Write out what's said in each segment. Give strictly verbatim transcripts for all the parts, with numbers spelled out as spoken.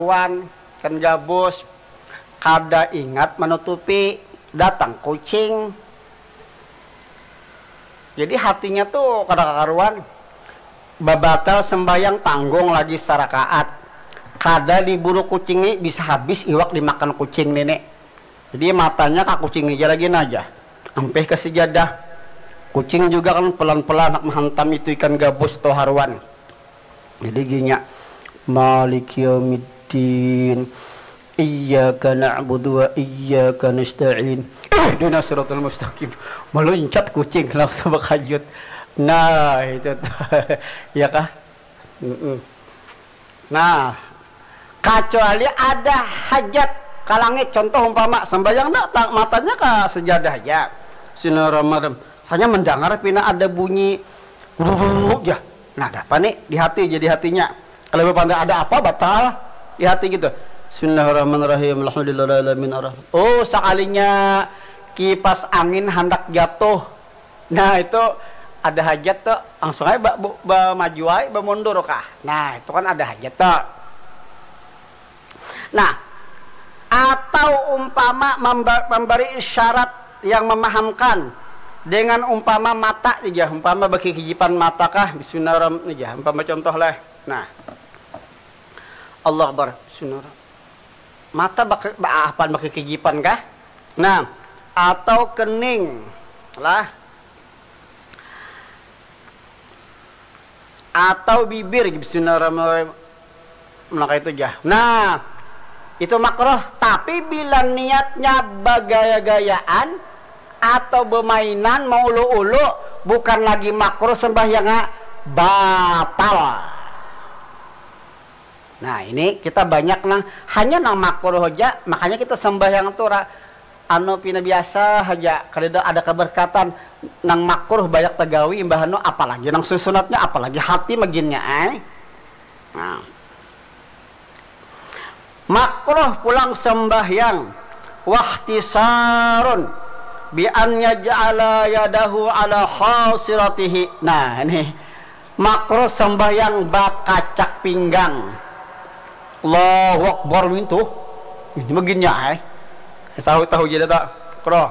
Wan, ikan gabus, kada ingat menutupi, datang kucing. Jadi hatinya tuh kada kakaruan. Babatal sembahyang tanggung lagi sarakaat. Kada diburu kucing ni, bisa habis iwak dimakan kucing nini. Jadi matanya ka kucing aja lagi naja. Ampih ke sejadah. Kucing juga kan pelan-pelan nak menghantam itu ikan gabus atau haruan. Jadi ginya, Maliki yaumiddin, iyyaka na'budu wa iyyaka nasta'in, ihdinas siratal mustaqim. Meluncat kucing langsung bakajut. Nah, itu tuh. Ya kah? Mm-mm. Nah, kecuali ada hajat ka langit, contoh umpama sembahyang dah, matanya ka sejadah aja. Sinar Ramadan, saya mendengar pina ada bunyi rurururu ya. Nah, ada apa nih di hati, jadi hatinya kalau bapak ada apa batal di hati gitu. Bismillahirrahmanirrahim. Alhamdulillahirrahmanirrahim. Oh, sekalinya kipas angin hendak jatuh, nah itu ada hajat tuh, langsung aja ba, ba, ba maju aja, ba mundur kah. Nah, itu kan ada hajat tuh. Nah, atau umpama memberi isyarat yang memahamkan dengan umpama mata aja, umpama bagi kijipan mata kah, bismillahirrahmanirrahim aja, umpama contoh lah. Nah, Allah Akbar, bismillahirrahmanirrahim. Mata bak, apa bagi kijipan kah? Nah, atau kening lah, atau bibir, bismillahirrahmanirrahim. Nah, kayak itu aja. Nah, itu makruh. Tapi bila niatnya bagaya-gayaan atau bermainan, mau ulu-ulu, bukan lagi makruh sembahyangnya, batal. Nah, ini kita banyak nang hanya nang makruh aja, makanya kita sembahyang tuh ra, anu pina biasa aja, kada ada keberkatan. Nang makruh banyak tegawi, imbah anu apalagi nang susunatnya, apalagi hati maginnya ai. Nah. Makruh pulang sembahyang wahtisarun bi an yaj'ala yadahu ala khasiratihi. Nah, ini makruh sembahyang bakacak pinggang. Allahu Akbar mintu. Ini maginnya ai. Tahu-tahu jadi tak? Makruh.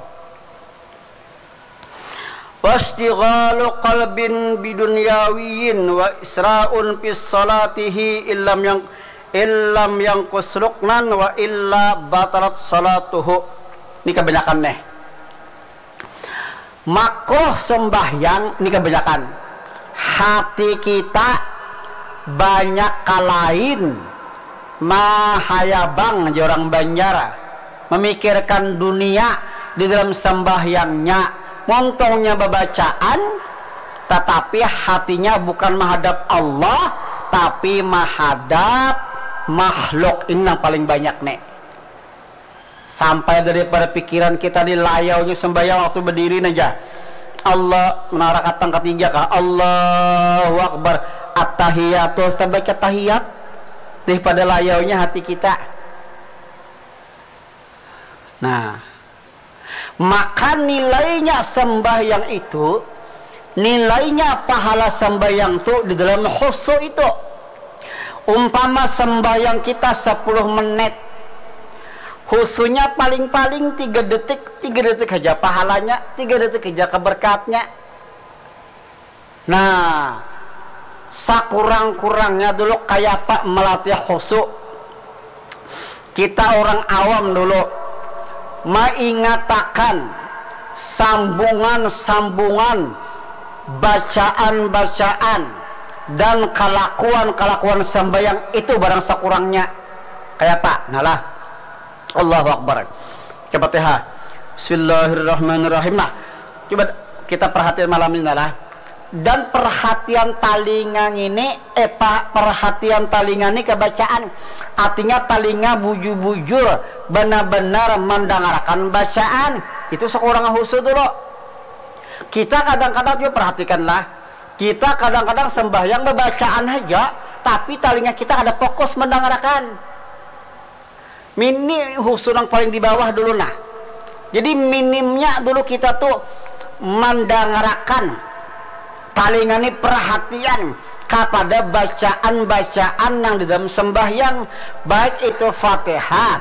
Wastighalu qalbin bidunyawiyin wa isra'un fi salatihi illam yang illam yang kusruknan wa illa batalat salatuhu. Ini kebanyakan nih. Makruh sembahyang ini kebanyakan. Hati kita banyak kalain mahayabang aja orang Banjar, memikirkan dunia di dalam sembahyangnya. Muntungnya bebacaan, tetapi hatinya bukan menghadap Allah, tapi menghadap makhluk. Ini yang paling banyak nih. Sampai daripada pikiran kita di layaunya sembahyang waktu berdiri aja. Allah, menara katang ketiga kah? Allahu Akbar. At-tahiyatu, kita baca tahiyat. Daripada layaunya hati kita. Nah, maka nilainya sembahyang itu, nilainya pahala sembahyang tu di dalam khusu itu. Umpama sembahyang kita sepuluh menit, khusunya paling-paling tiga detik, tiga detik saja pahalanya, tiga detik saja keberkatnya. Nah, sakurang-kurangnya dulu kaya apa melatih khusu. Kita orang awam dulu maingatakan sambungan-sambungan, bacaan-bacaan, dan kalakuan-kalakuan sembahyang itu barang sakurangnya. Kaya apa? Nah lah. Allahu Akbar. Coba T H. Bismillahirrahmanirrahim. Nah, coba kita perhatian malam ini lah. Dan perhatian talinga ini, eh, perhatian talinga ini kebacaan. Artinya talinga bujur-bujur benar-benar mendengarkan bacaan. Itu sekurang khusu dulu. Kita kadang-kadang juga perhatikanlah. Kita kadang-kadang sembahyang bebacaan saja, tapi talinga kita ada fokus mendengarkan. Mini khusu nang paling di bawah dulu nah. Jadi minimnya dulu kita tuh mandangarakan, talinga ni perhatian, kapada bacaan-bacaan yang di dalam sembahyang, baik itu Fatihah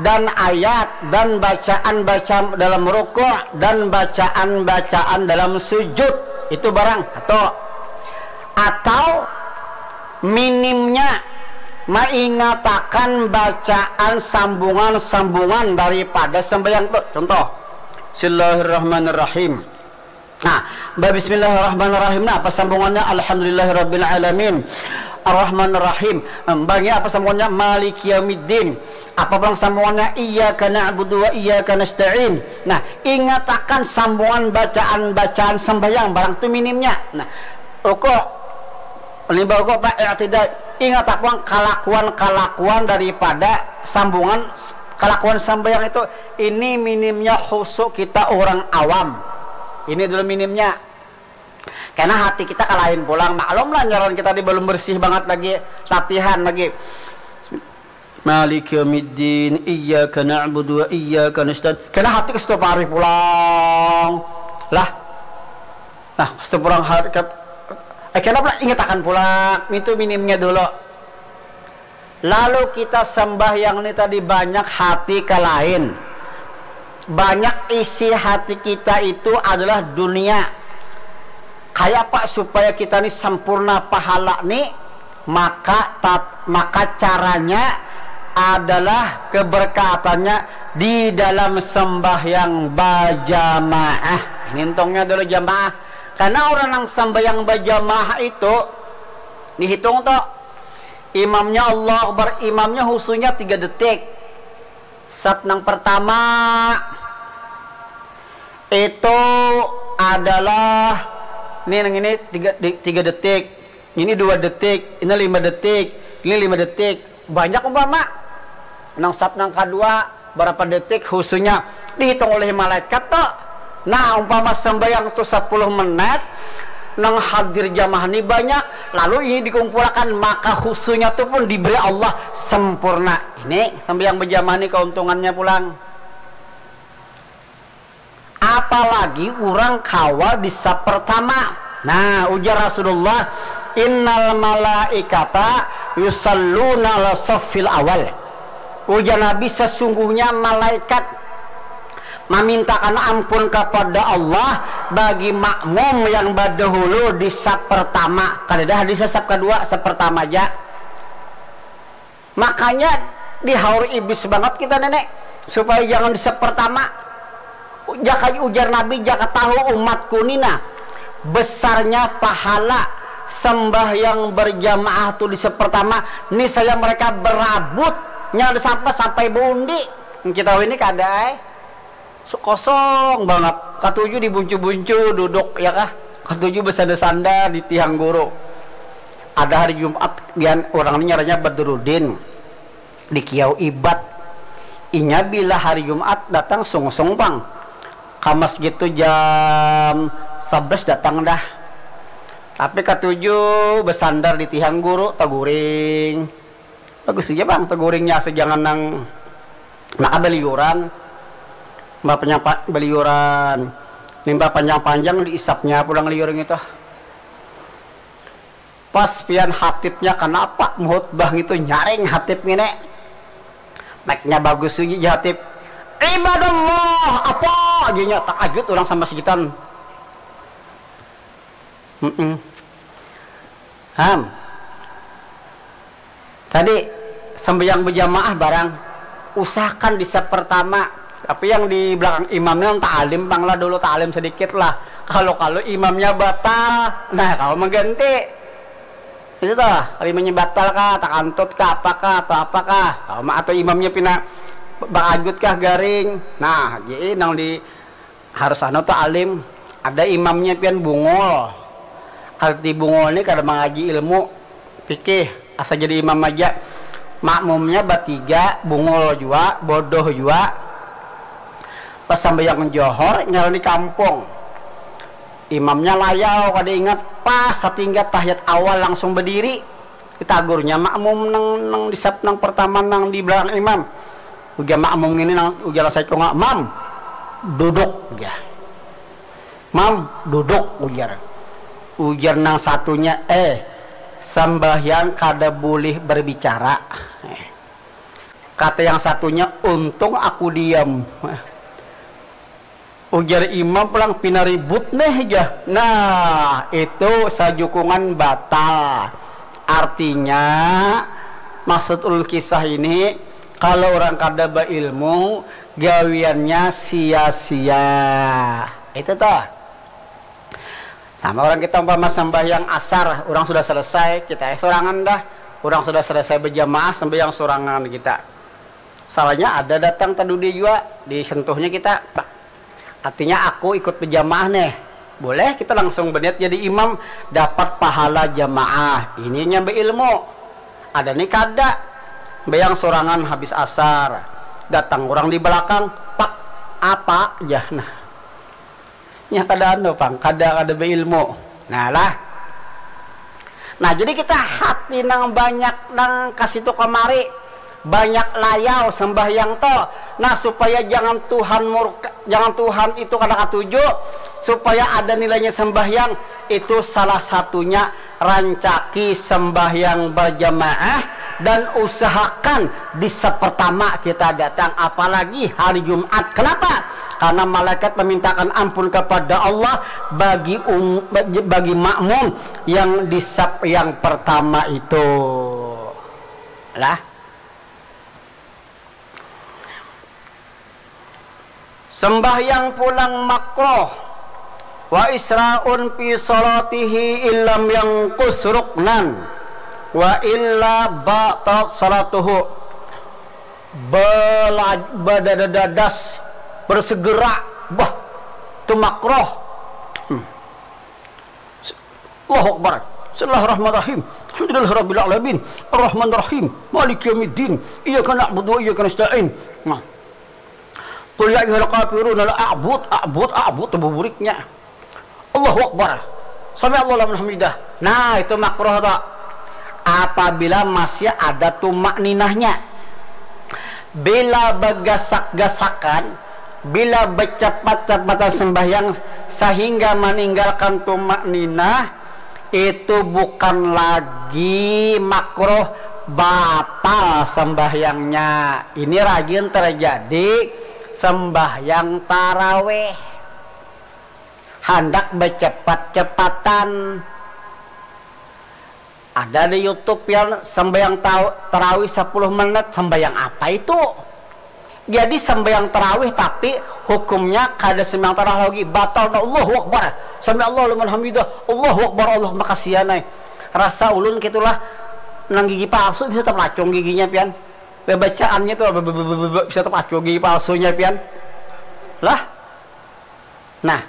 dan ayat dan bacaan-bacaan dalam rukuk dan bacaan-bacaan dalam sujud, itu barang atau atau minimnya maingatakan bacaan sambungan-sambungan daripada sembahyang tu. Contoh, Bismillahirrahmanirrahim. Nah, ba Bismillahirrahmanirrahim, nah, apa sambungannya? Alhamdulillahirabbil alamin. Arrahmanirrahim. Bangi apa sambungannya? Maliki yaumiddin. Apa bang sambungannya? Iyyaka na'budu wa iyyaka nasta'in. Nah, ingatakan sambungan bacaan-bacaan sembahyang barang tu minimnya. Nah, rukuk, limbah rukuk apa? I'tidal. Ingat apa kalakuan-kalakuan daripada sambungan kalakuan sembahyang itu. Ini minimnya khusyuk kita orang awam. Ini dulu minimnya. Karena hati kita kalain pulang. Maklum lah, nyaran kita di belum bersih banget lagi, latihan lagi. Maliki yaumiddin, iyyaka na'budu wa iyyaka nasta'in. Kena hati ke situ parih pulang. Lah. Nah, seberang hari kat, eh, kenapa lah ingat akan pulang? Itu minimnya dulu. Lalu kita sembahyang ni tadi banyak hati ke lain. Banyak isi hati kita itu adalah dunia. Kayak apa supaya kita ni sempurna pahala ni? Maka tat, maka caranya adalah keberkatannya di dalam sembahyang bajamaah. Ini untungnya dulu jamaah. Karena orang yang sembahyang bajamaah itu dihitung tuh, imamnya Allah Akbar, imamnya husunya tiga detik. Sap nang pertama itu adalah ini, nang ini tiga, tiga detik, ini dua detik, ini lima detik, ini lima detik. Banyak umpama. Nang sap nang kedua, berapa detik husunya dihitung oleh malaikat tuh. Nah, umpama sembahyang tuh sepuluh menit, nang hadir jamaah ni banyak, lalu ini dikumpulkan, maka husunya tuh pun diberi Allah sempurna. Ini sembahyang berjamaah ni keuntungannya pulang. Apalagi orang kawal di sap pertama. Nah, ujar Rasulullah, innal malaikata yusalluna ala saffil awal. Ujar Nabi, sesungguhnya malaikat memintakan ampun kepada Allah bagi makmum yang berdahulu di sap pertama. Kada ada hadis sap kedua, sap pertama aja. Makanya dihaur iblis banget kita nenek, supaya jangan di sap pertama. Jaka ujar Nabi, jaka tahu umatku nina besarnya pahala sembahyang berjamaah tu di sap pertama, niscaya mereka berabut nyanda sampai sampai bundi. Kita ini kada eh. Kosong banget. Katuju dibuncu-buncu duduk ya kah. Katuju bersandar-sandar di tiang guru. Ada hari Jumat, dia orang ini nyaranya Badrudin di Kiau Ibat. Inya bila hari Jumat datang sungsung pang ka masjid tu jam sebelas datang dah. Tapi katuju bersandar di tiang guru, taguring. Bagus aja bang, taguringnya asa jangan nang maka beliuran. Mbak penyapa beliuran. Limbah panjang-panjang diisapnya pulang liur gitu. Pas pian hatibnya kenapa muhutbah gitu nyaring hatib ngene. Meknya bagus uji hatib. Ibadallah, apa aja nya takajut orang sama segitan. Mm-mm. Ham. Tadi sembahyang berjamaah barang usahakan di sap pertama. Tapi yang di belakang imamnya yang ta'alim pang lah dulu, ta'alim sedikit lah. Kalau kalau imamnya batal, nah kalau mengganti itu tuh, kalau imamnya batal kah, takantut kah, apakah atau apakah, atau imamnya pina beragut kah garing, nah jadi nang di harus anu tuh alim. Ada imamnya pian bungul. Arti bungul ni kada mangaji ilmu fikih, asa jadi imam aja. Makmumnya batiga, bungul jua, bodoh jua. Pas sambayang johor, nyaran di kampung. Imamnya layau, kada ingat, pas satingga tahiyat awal langsung berdiri. Ditagurnya makmum nang nang di sap nang pertama nang di belakang imam. Ujar makmum ini nang ujar saya kong mam duduk ujar. Mam duduk ujar. Ujar nang satunya eh Sambahyang kada bulih berbicara. Kata yang satunya, "Untung aku diam." Ujar imam pulang, "Pina ribut neh," jar. Nah, itu sajukungan batal. Artinya, maksud ulun kisah ini, kalau orang kada beilmu, gawiannya sia-sia. Itu toh. Sama orang kita umpama sembahyang asar, orang sudah selesai, kita eh sorangan dah. Orang sudah selesai berjamaah, sembahyang sorangan kita. Salahnya ada datang tadudi jua, disentuhnya kita. Artinya aku ikut berjamaah nih. Boleh kita langsung berniat jadi imam, dapat pahala jamaah. Ininya beilmu. Ada nih kada. Sembahyang sorangan habis asar. Datang orang di belakang, "Pak, apa?" Jar. Nah, nya kada anu pang, kada, kada beilmu. Nah lah. Nah, jadi kita hati nang banyak nang ka situ kamari, banyak layau sembahyang to. Nah, supaya jangan Tuhan murka, jangan Tuhan itu kada katuju, supaya ada nilainya sembahyang, itu salah satunya rancaki sembahyang berjamaah dan usahakan di sepertama kita datang, apalagi hari Jumat. Kenapa? Karena malaikat memintakan ampun kepada Allah bagi um, bagi, bagi makmum yang di saf yang pertama itu. Lah. Sembahyang pulang makruh. Wa isra'un fi salatihi illam yangkus ruknan wa illa batal salatuhu. Bela-, badadadadas, bersegera, bah, itu makruh. Hmm. Allahu Akbar. Bismillahirrahmanirrahim. Alhamdulillahirabbil alamin. Arrahmanirrahim. Maliki yaumiddin. Iyyaka na'budu wa iyyaka nasta'in. Nah. Qul ya ayyuhal kafirun, la a'bud, a'bud, a'bud, tubuh buriknya. Allahu Akbar. Sami Allah liman hamidah. Nah, itu makruh toh. Apabila masih ada tumak ninahnya. Bila bagasak-gasakan, bila bacapat-capatan sembahyang sahingga maninggalkan tumak ninah, itu bukan lagi makruh, batal sembahyangnya. Ini rajin terjadi sembahyang taraweh. Handak bacapat-capatan. Ada di YouTube pian sembahyang tau-, tarawih sapuluh menit, sembahyang apa itu? Jadi sembahyang tarawih tapi hukumnya kada sembahyang tarawih lagi, batal dah. Allahu Akbar, sami Allah liman hamidah, Allahu Akbar, Allah makasihan ai. Rasa ulun kitulah, nang gigi palsu bisa tapelacung giginya pian. Babacaannya tuh be-, be-, be-, be-, be-, bisa tapelacung gigi palsunya pian. Lah. Nah,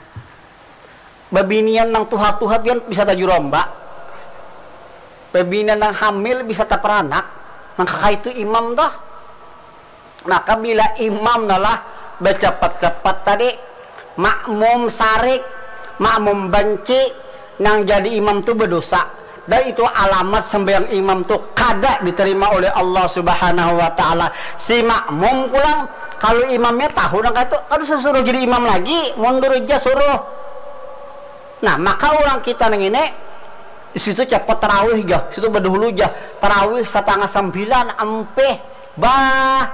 babinian nang tuha-tuha pian bisa tajuromba. Babinian nang hamil bisa taparanak. Nang kakaitu imam tuh. Maka bila imam nalah bacapat-capat tadi, makmum sarik, makmum banci, nang jadi imam tu badosa. Dan itu alamat sembahyang imam tu kada diterima oleh Allah Subhanahu wa Ta'ala. Si makmum pulang, kalau imamnya tahu nang kaitu, kada suruh jadi imam lagi, mundur aja suruh. Nah, maka orang kita nang ini, situ cepat tarawih jah, situ berdahulu jah, tarawih setengah sembilan, ampih, bah,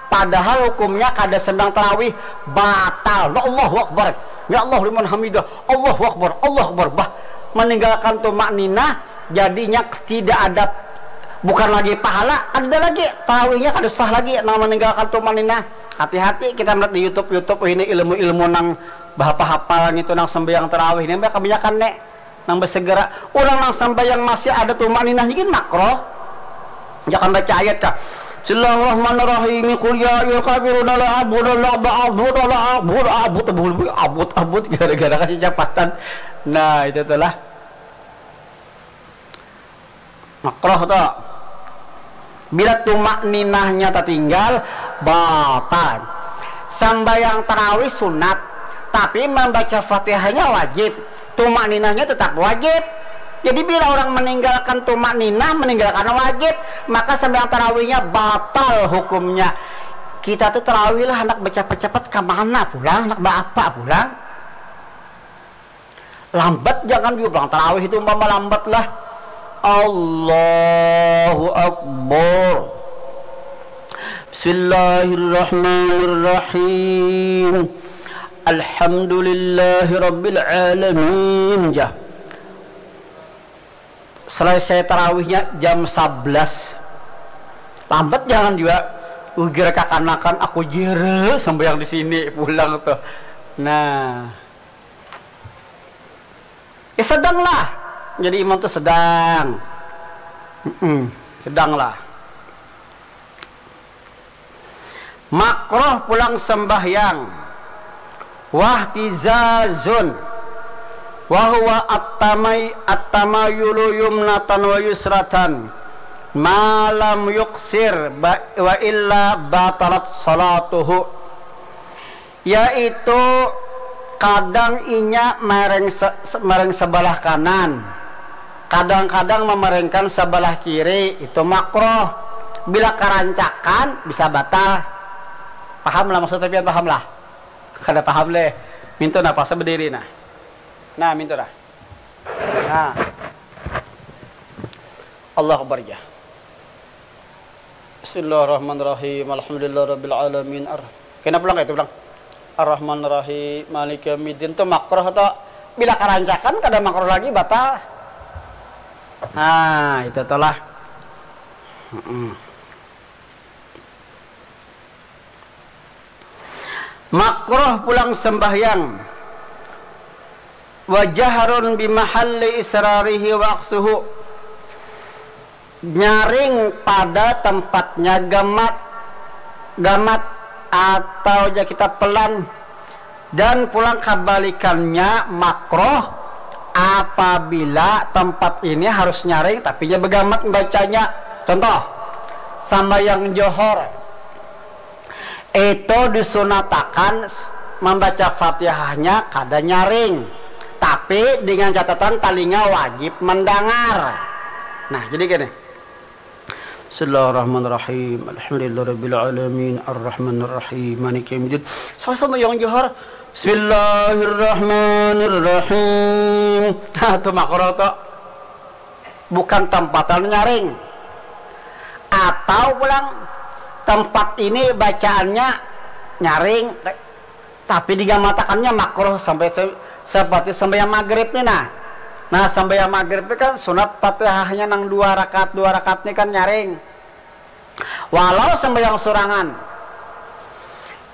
padahal hukumnya kada sembahyang tarawih, batal. Nah, Allahu Akbar, ya Allah liman hamidah, Allahu Akbar, Allahu Akbar, bah, meninggalkan tumak ninah, jadinya tidak ada, bukan lagi pahala, ada lagi, tarawihnya kada sah lagi, nang meninggalkan tumak ninah. Hati-hati kita melihat di YouTube, YouTube ini ilmu-ilmu nang bahapa-hapal ngitu nang sembahyang tarawih ini, kebanyakan nek nang bersegera. Urang nang sambayang masih ada tumak ninahnya gin makroh. Jangan baca ayat kah. Bismillahirrahmanirrahim. Qul ya ayyuhal kafiruna la a'budu la a'budu la a'budu a'budu a'budu a'budu a'budu gara-gara kasih capatan. Nah, itu tuh lah. Makroh tuh. Bila tumak ninahnya tertinggal, batal. Sambayang tarawih sunat, tapi membaca fatihahnya wajib. Tumak ninahnya tetap wajib. Jadi bila orang meninggalkan tumak ninah, meninggalkan wajib, maka sambayang tarawihnya batal hukumnya. Kita tuh tarawih lah, hendak bercepat-cepat ke mana pulang, hendak berapa pulang? Lambat jangan juga pulang tarawih itu umpama lambat lah. Allahu Akbar. Bismillahirrahmanirrahim. Alhamdulillahirabbil alamin. Jah. Selesai tarawihnya jam sebelas. Lambat jangan juga. Ujar kakanakan, aku jere sambayang di sini pulang tuh. Nah. Ya sedanglah. Jadi imam tuh sedang. Mm-mm. Sedanglah. Makroh pulang sembahyang. Wahtizazun. Wahuwa attamay attamayulu yumnatan wa yusratan. Malam yuksir ba- wa illa batalat salatuhu. Yaitu kadang inya mereng se- se- mereng sebelah kanan, kadang-kadang memerengkan sebelah kiri, itu makroh. Bila kerancakan bisa batal. Paham lah maksudnya pian, paham lah? Kada paham leh. Mintu nah, pas berdiri nah. Nah, mintu nah. Nah. Allah Akbar ja. Bismillahirrahmanirrahim. Alhamdulillahirabbil alamin. Ar. Kena pulang itu pulang. Arrahmanirrahim. Maliki yaumiddin tu makruh atau bila karancakan kada makruh lagi, batal. Nah, itu telah. Mm-mm. Makruh pulang sembahyang. Wa jahrun bimahalli israrihi wa aksuhu. Nyaring pada tempatnya gamat, gamat atau ja kita pelan, dan pulang kabalikannya makruh apabila tempat ini harus nyaring tapi nya begamat membacanya. Contoh, sambayang johor itu disunatakan membaca fatihahnya kada nyaring, tapi dengan catatan talinga wajib mendengar. Nah, jadi gini. Bismillahirrahmanirrahim. Alhamdulillahirabbil alamin. Arrahmanirrahim. Maliki yaumiddin. Sama-sama yang johor. Bismillahirrahmanirrahim. Nah, itu makro tuh. Bukan tempatan nyaring. Atau pulang tempat ini bacaannya nyaring, tapi digamatakannya makruh sampai se- seperti sembahyang maghrib nih nah. Nah, sembahyang maghrib ini kan sunat fatihahnya nang dua rakaat, dua rakaat ini kan nyaring. Walau sembahyang surangan.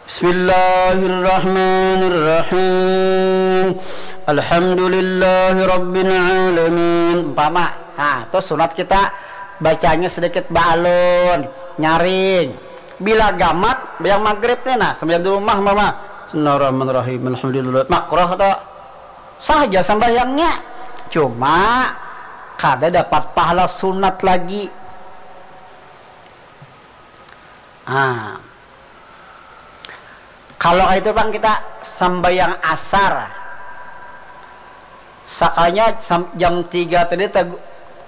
Bismillahirrahmanirrahim. Alhamdulillahirabbil alamin. Umpama, nah, itu sunat kita bacanya sedikit baalun, nyaring. Bila gamat, yang maghrib nih nah, sambil di rumah mama. Bismillahirrahmanirrahim. Alhamdulillah. Makroh atau sah aja sambahyangnya. Cuma kada dapat pahala sunat lagi. Ah. Kalau itu bang kita sambayang asar. Sakanya jam tiga tadi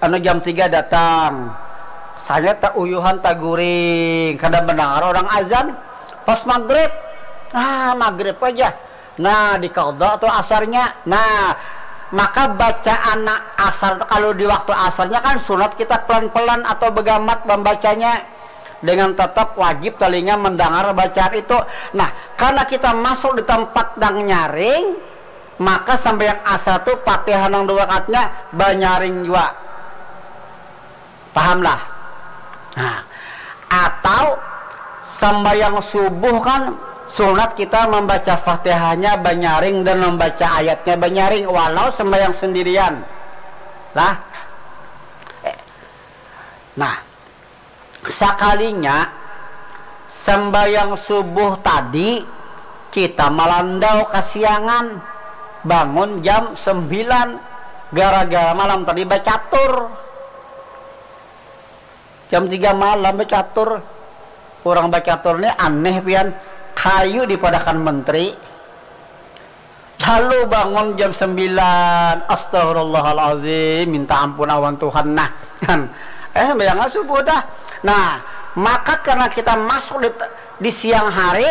anu jam tiga datang. Saya tak uyuhan taguring, kada mendengar orang azan pas maghrib. Ah, maghrib aja. Nah, dikada tu asarnya. Nah, maka bacaan asar kalau di waktu asarnya kan sunat kita pelan-pelan atau begamat membacanya dengan tetap wajib telinga mendengar bacaan itu. Nah, karena kita masuk di tempat yang nyaring, maka sampai yang asar tu Fatihah nang dua rakaatnya banyaring juga. Pahamlah? Nah, atau sambayang subuh kan sunat kita membaca Fatihahnya banyaring dan membaca ayatnya banyaring walau sambayang sendirian. Lah. Nah, sakalinya sambayang subuh tadi kita malandau kasiangan bangun jam sembilan gara-gara malam tadi bacatur. Jam tiga malam bacatur. Orang bacatur ni aneh pian. Kayu dipadakan menteri. Lalu bangun jam sembilan. Astagfirullahalazim, minta ampun awan Tuhan nah. Eh, bayangkan subuh dah. Nah, maka karena kita masuk di, di siang hari,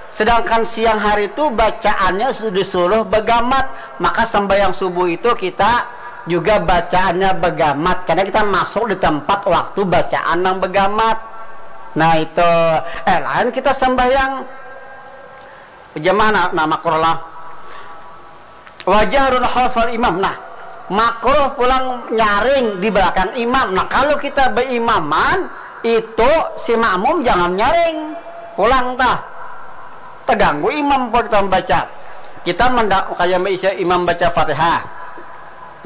sedangkan siang hari itu bacaannya sudah disuruh begamat, maka sembahyang subuh itu kita juga bacaannya begamat, karena kita masuk di tempat waktu bacaan yang begamat. Nah itu, eh lain kita sembahyang jamaah, nah makruh lah. Wajah khalfal imam, nah makruh pulang nyaring di belakang imam. Nah kalau kita berimaman itu si makmum jangan nyaring pulang tah, terganggu imam pun kita membaca. Kita mendak kayak imam baca fatihah,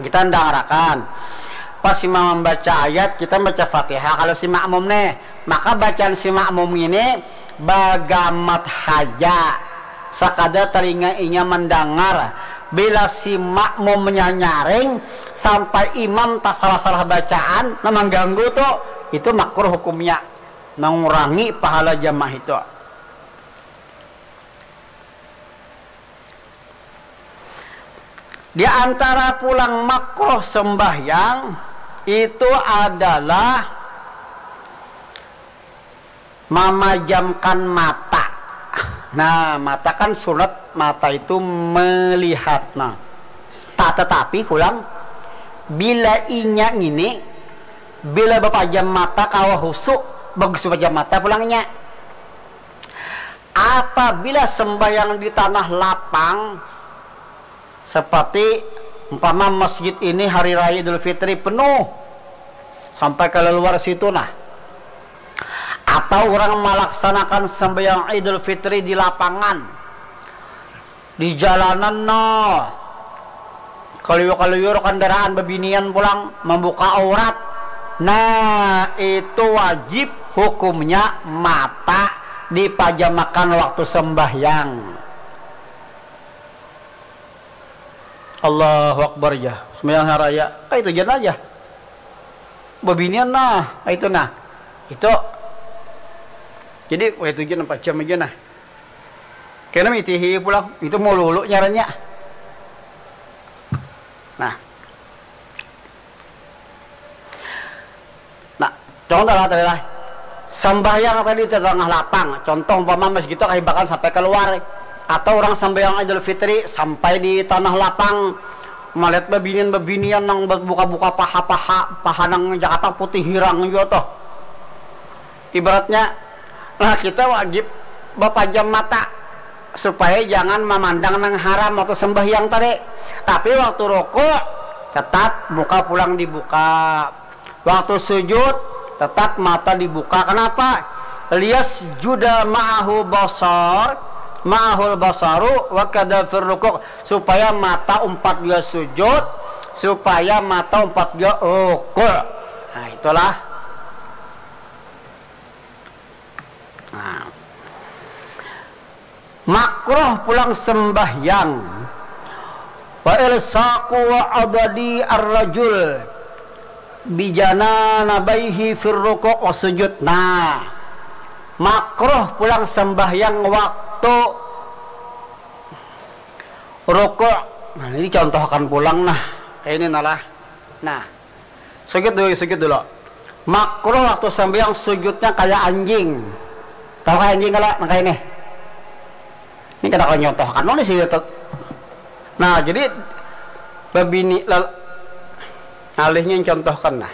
kita ndangarakan. Pas imam membaca ayat, kita baca fatihah kalau si makmum nih. Maka bacaan si makmum ini bagamat haja, sekadar telinga inya mendengar. Bila si makmum menyanyaring sampai imam tak salah-salah bacaan, nah mengganggu tuh, itu makruh hukumnya, mengurangi pahala jamaah itu. Di antara pulang makruh sembahyang itu adalah memajamkan mata. Nah, mata kan sunat, mata itu melihat. Nah, tak tetapi pulang bila inya ini, bila bapajam mata kawa husu, bagus bapajam mata pulangnya. Apabila sembahyang di tanah lapang, seperti umpama masjid ini hari raya Idul Fitri penuh sampai ke luar situ nah, atau orang melaksanakan sembahyang Idul Fitri di lapangan, di jalanan no, keliur-keliur kendaraan bebinian pulang membuka aurat, nah itu wajib hukumnya mata dipajamakan waktu sembahyang. Allahu Akbar ja. Sembahyang haraya. Ah itu jan aja. Bebinian nah, ah, itu nah. Itu. Jadi wah itu jan empat jam aja nah. Kena mitihi pulang. Itu mau lulu nyarannya. Nah. Nah, contoh lah tadi lah. Sambahyang tadi di tengah lapang, contoh umpama masjid itu kahibakan sampai keluar, atau orang sambahyang Idul Fitri sampai di tanah lapang, melihat bebinian-bebinian nang buka-buka paha-paha, paha nang Jakarta putih hirang juga tuh. Ibaratnya, nah kita wajib bapajam mata supaya jangan memandang nang haram waktu sembahyang tadi. Tapi waktu rukuk tetap muka pulang dibuka. Waktu sujud tetap mata dibuka. Kenapa? Lias juda ma'ahu basar, ma'ahul basaru wa kada fir rukuk. Supaya mata umpat dia sujud, supaya mata umpat dia rukuk. Nah, itulah. Nah. Makruh pulang sembahyang. Wa ilsaqu wa adadi ar-rajul bijananabaihi fir ruku' wa sujud. Nah, makruh pulang sembahyang waktu rukuk. Nah, ini contohkan pulang nah. Kayak ini nalah. Nah, sujud dulu, sujud dulu. Makruh waktu sembahyang sujudnya kayak anjing. Tahu kayak anjing kalau nang kayak ini? Ini kada kalau nyontohkan mana sih itu. Nah, jadi lebih ni lal, alihnya contohkan nah.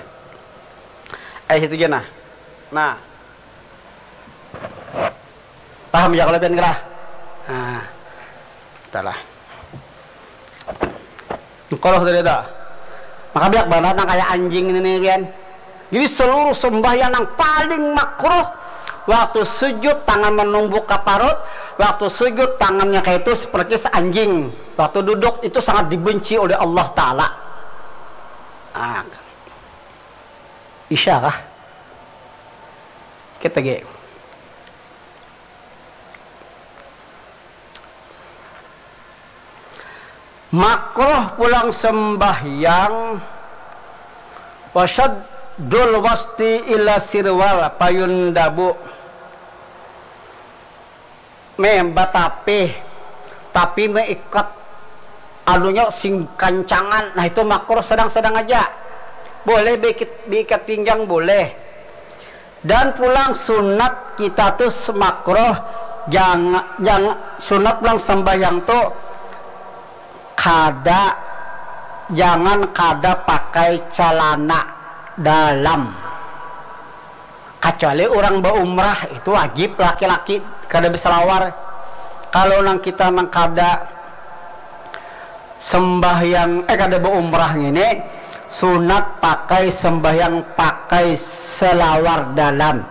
Eh situ aja nah. Nah. Paham ya kalau pian gerah? Nah. Talah. Kalau sudah ada. Maka biak banget nang kayak anjing ini nih pian. Jadi seluruh sembahyang yang paling makruh, waktu sujud tangan menumbuk ke parut, waktu sujud tangannya kayak itu seperti anjing, waktu duduk itu sangat dibenci oleh Allah Ta'ala. Nah, Isya kah? Kita ge. Makruh pulang sembahyang, wasyaddul wasti ila sirwal, payun dabu. Meh batapih, tapi meikat anunya sing kancangan, nah itu makruh sedang-sedang aja. Boleh beikat, beikat pinggang boleh. Dan pulang sunat kita tuh makruh, jangan, jangan sunat pulang sembahyang tuh kada Jangan kada pakai calana dalam. Kacuali urang baumrah, itu wajib laki-laki kada basalawar. Kalau nang kita nang kada sembahyang, eh, kada baumrah ngini, sunat pakai sembahyang pakai salawar dalam.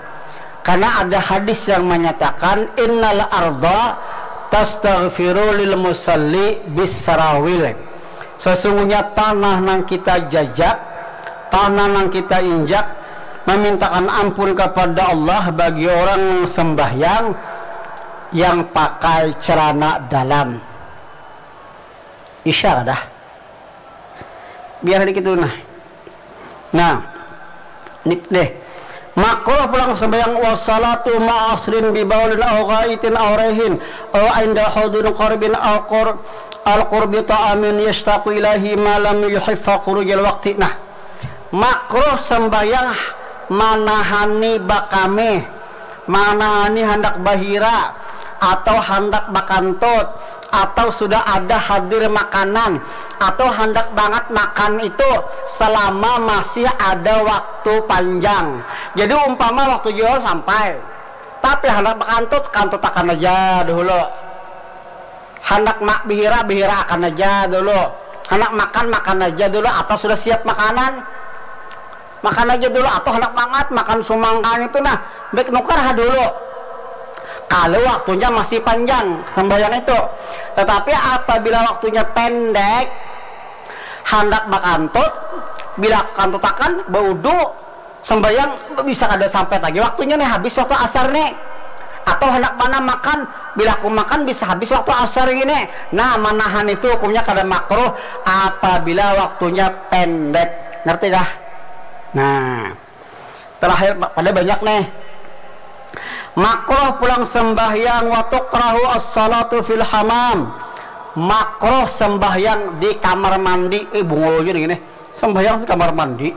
Karena ada hadis yang menyatakan, "Innal arda tastaghfiru lil musalli bis sarawil." Sesungguhnya tanah nang kita jajak, tanah nang kita injak, memintakan ampun kepada Allah bagi orang sembahyang yang pakai celana dalam. Isya kada? Biar dikit dulu nah. Nah, ini deh. Makruh pulang sembahyang wassalatu ma'asrin bibaulin au ghaitin au rehin au inda hudun qarbin au qur al qurbi ta'amin yashtaqu ilahi ma lam yuhiffa khurujal waqti. Nah, makruh sembahyang manahani bakame, manahani handak bahira atau handak bakantut atau sudah ada hadir makanan atau handak bangat makan itu selama masih ada waktu panjang. Jadi umpama waktu jual sampai, tapi handak bakantut, kantutakan aja dahulu. Handak mak bihira, bihira akan aja dulu. Handak makan, makan aja dulu atau sudah siap makanan. Makan aja dulu atau handak bangat makan sumangkan itu nah, baik nukar ha dulu. Kalau waktunya masih panjang sembahyang itu. Tetapi apabila waktunya pendek, handak bakantut, bila kantutakan, baudu, sembahyang bisa kada sampai lagi waktunya nih, habis waktu asar nih. Atau handak mana makan, bila aku makan bisa habis waktu asar gini. Nah, manahan itu hukumnya kada makruh apabila waktunya pendek. Ngerti kah? Nah, terakhir pa- pada banyak nih. Makruh pulang sembahyang wa tukrahu as-salatu fil hamam. Makruh sembahyang di kamar mandi. Eh, bungul aja nih gini. Sembahyang di kamar mandi.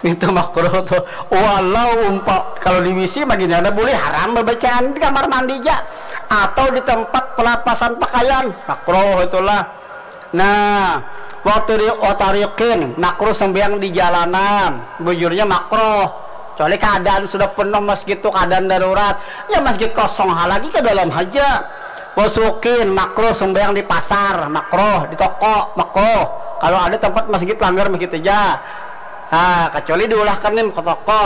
Itu makruh tuh. Walau umpa kalau di W C mah gini ada boleh, haram babacaan di kamar mandi aja atau di tempat pelapasan pakaian. Makruh itulah. Nah, waktu di otarikin, makruh sembahyang di jalanan. Bujurnya makruh. Kecuali keadaan sudah penuh masjid tuh, keadaan darurat. Ya masjid kosong ha lagi ke dalam aja. Wasukin, makruh sembahyang di pasar, makruh di toko, makruh. Kalau ada tempat masjid langgar masjid aja. Nah, kecuali diulahkan nih ke toko.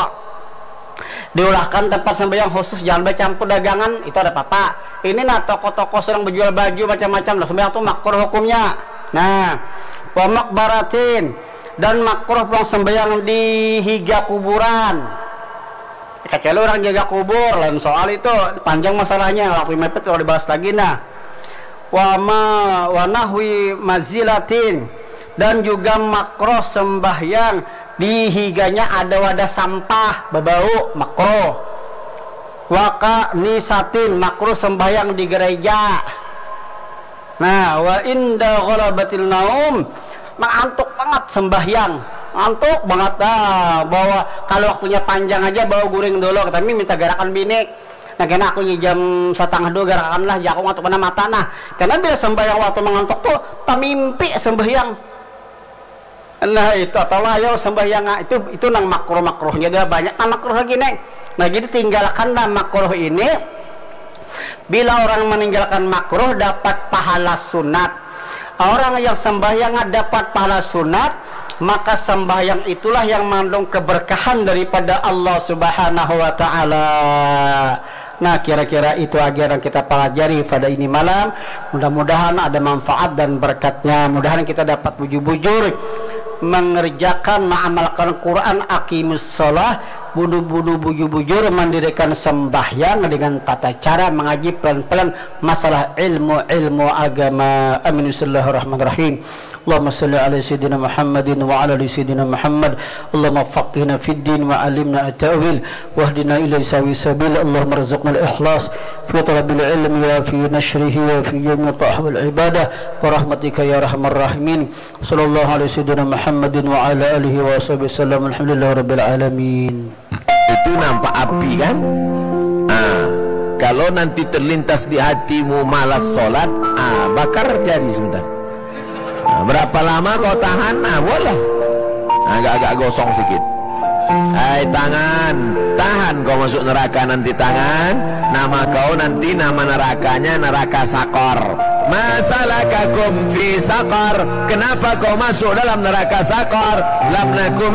Diulahkan tempat sembahyang khusus, jangan bacampur dagangan, itu ada apa-apa. Ini nah toko-toko sedang berjual baju macam-macam, nah sembahyang tuh makruh hukumnya. Nah, wa maqbaratin, dan makruh pulang sembahyang di higa kuburan. Kecuali orang jaga kubur, lain soal itu, panjang masalahnya, waktu mepet kalau dibahas lagi nah. Wa ma wa nahwi mazilatin, dan juga makruh sembahyang di higanya ada wadah sampah babau, makruh. Wa kanisatin, makruh sembahyang di gereja. Nah, wa inda ghalabatil naum, mengantuk banget sembahyang, ngantuk banget dah. Bawa kalau waktunya panjang aja bawa guring dulu, tapi minta garakan bini. Nah, kena aku jam setengah dua garakan lah, jaku ngantuk mana mata nah. Karena bila sembahyang waktu mengantuk tuh tamimpi sembahyang. Nah, itu atau layo sembahyang itu itu nang makruh makruhnya dah, banyak nang makruh lagi neng. Nah, jadi tinggalkan lah makruh ini. Bila orang meninggalkan makruh dapat pahala sunat. Orang yang sembahyang dapat pahala sunat, maka sembahyang itulah yang mengandung keberkahan daripada Allah Subhanahu wa taala. Nah, kira-kira itu aja yang kita pelajari pada ini malam. Mudah-mudahan ada manfaat dan berkatnya. Mudahan kita dapat bujur-bujur mengerjakan, mengamalkan Quran, aqimus shalah, budu-budu bujur-bujur mendirikan sembahyang dengan tata cara mengaji pelan-pelan masalah ilmu-ilmu agama. Amin. Bismillahirrahmanirrahim. Allahumma salli ala sayyidina Muhammadin wa ala ali sayyidina Muhammad. Allahumma faqihna fid din wa alimna at-ta'wil wahdina ila sawi sabil. Allahumma rzuqna al-ikhlas fi talabil ilmi wa fi nashrihi wa fi jami'i ta'ah wal ibadah wa rahmatika ya arhamar rahimin. Sallallahu ala sayyidina Muhammadin wa ala alihi wa sahbihi wasallam. Alhamdulillahi rabbil alamin. Itu nampak api kan? Ah, kalau nanti terlintas di hatimu malas sholat, ah, bakar jari sebentar. Ah, Berapa lama kau tahan? Nah, boleh. Agak-agak gosong sikit. Hai tangan, tahan kau masuk neraka nanti tangan. Nama kau nanti nama nerakanya neraka sakor. Masalakakum fi sakor. Kenapa kau masuk dalam neraka sakor? Lam naku